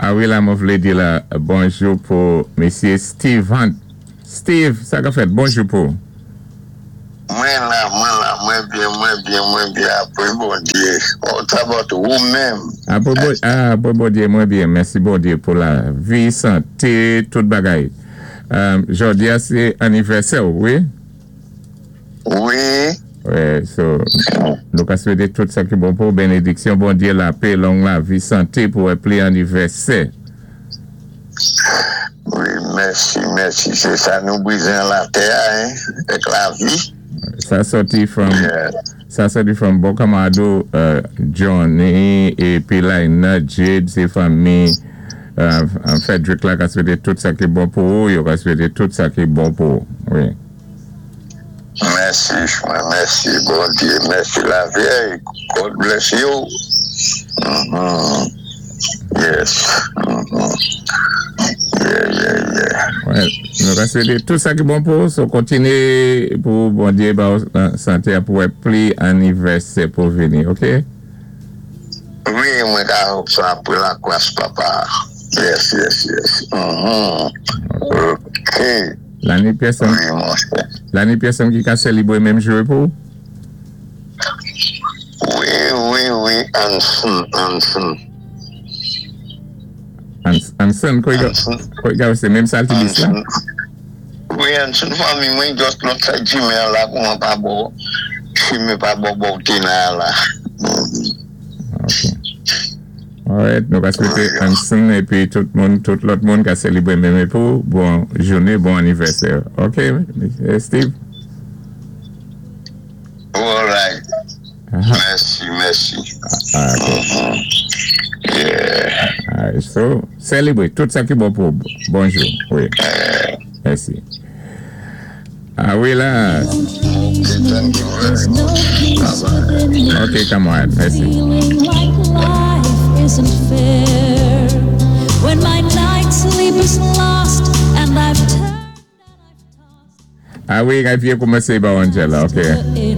A wi, la, mwen vlé di la bonjou pou Misyé Steve Hunt. Steve, sa ka fèt? Bonjou pou. Mwen la, mwen la, mwen byen, mwen byen, mwen byen, apwé Bondyé. What about ou menm? Apwé bon, ah, apwé Bondyé, mwen byen. Mèsi Bondyé pou lavi, santé, tout bagay. Jòdi-a sé annivèsè ou, wi? Wi. Wè, so, nou ka swété tout sa ki bon pou benediksyon Bondyé, lapè, long lavi, santé pou wè pli annivèsè. Wi, mèsi, mèsi. Sé sa nou bizwen latè-a, hein, èk lavi. Sa sòti from bon kanmarad ou Johnny épi Laina Jade, sé fanmi Frederick la ka swété tout sa ki bon pou ou, yo ka swété tout sa ki bon pou ou. Wi. Mèsi, mwen mèsi Bondyé, mèsi Lavyèy. God bless you. Yes. Yeah. Well, nou ka swété tout sa ki bon pou ou, so kontinyé pou Bondyé ba ou santé a pou wè pli annivèsè pou vini, ok? Wi, mwen ka hope sa apwé lagras Papa. Yes. Ok. La ni pèsonn, Wi, monchè. La ni pèsonn ki ka sélibwé menm jou pou ou? Wi, Anson, Anson. Anson, kòy ka sé menm Saltibus la? Wi, Anson fanmi mwen, just lòt side chimen an la pou mwen pa bò, chimen pa bò bò Tena la. Ok. Alright, nou ka swété Anson épi tout moun, tout lòt moun ka sélibwé menm pou bon jouné, bon annivèsè. Ok, Steve? Alright. Mèsi, mèsi. Ah, ok. Yeah. Alright, so, sélibwé tout sa ki bon pou bonjou. Wi. Mèsi. A wi la. Ok, thank you very much. Bye bye. Ok, kanmarad, mèsi. Feeling like life isn't fair. When my night's sleep is lost and I've turned and I've tossed A wi, rivyè koumansé ba Angela, ok.